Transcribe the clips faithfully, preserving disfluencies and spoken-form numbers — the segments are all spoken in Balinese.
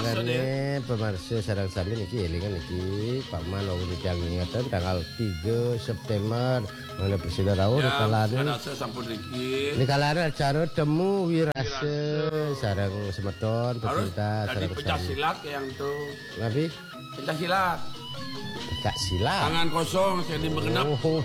Sané pamirsa sareng sami niki élingan niki, Pak Man wau titiang ingetang tanggal tiga September, mangda prasida rauh. Ya, rikalané. Sampun riki. Rikalané acara temu wirasa. Wirasa. Sareng semeton, harus pecinta, dadi sareng pencak sami. Silat yang tuh. Napi? Pencak silat. Pencak silat. Tangan kosong, sing di genep. Oh,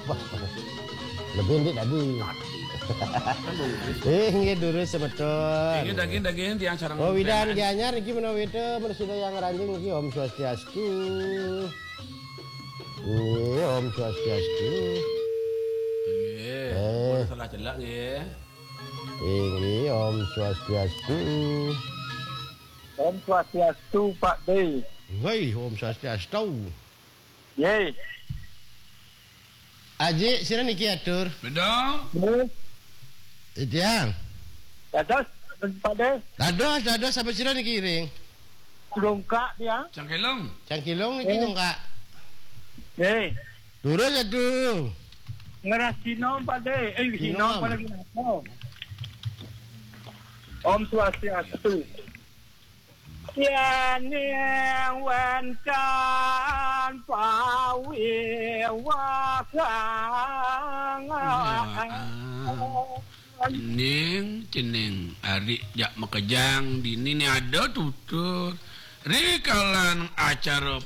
lebih ndik tadi. Tadi. Kan bagus. Eh, nggih, durus semeton. Nggih, daging-daging tiang sareng. Oh, Widan preman. Gianyar niki menawi té, prasida yang ranjing niki, Om Swastiastu. Nggih, Om Swastiastu. Nggih, eh, salah celak nggih. Inggih, Om Swastiastu. Om Swastiastu, Pak D. Nggih, Om Swastiastu. Nggih. Aji, sira niki atur. Beda. Nggih. Titiang. Dados, Pak D. Dados, dados, sapa sira niki ring? Dongkak tiang. Cangkilung. Cangkilung niki. Eh. Dongkak. Nggih. Durus atu. Ngeras Cino, Pak D. Eh, Cino, Cino, Pak D. Om Swastiastu. Yéning wénten pawiwagang. Ning cening ari jak makejang dini ni ada tutur. Rikalan acara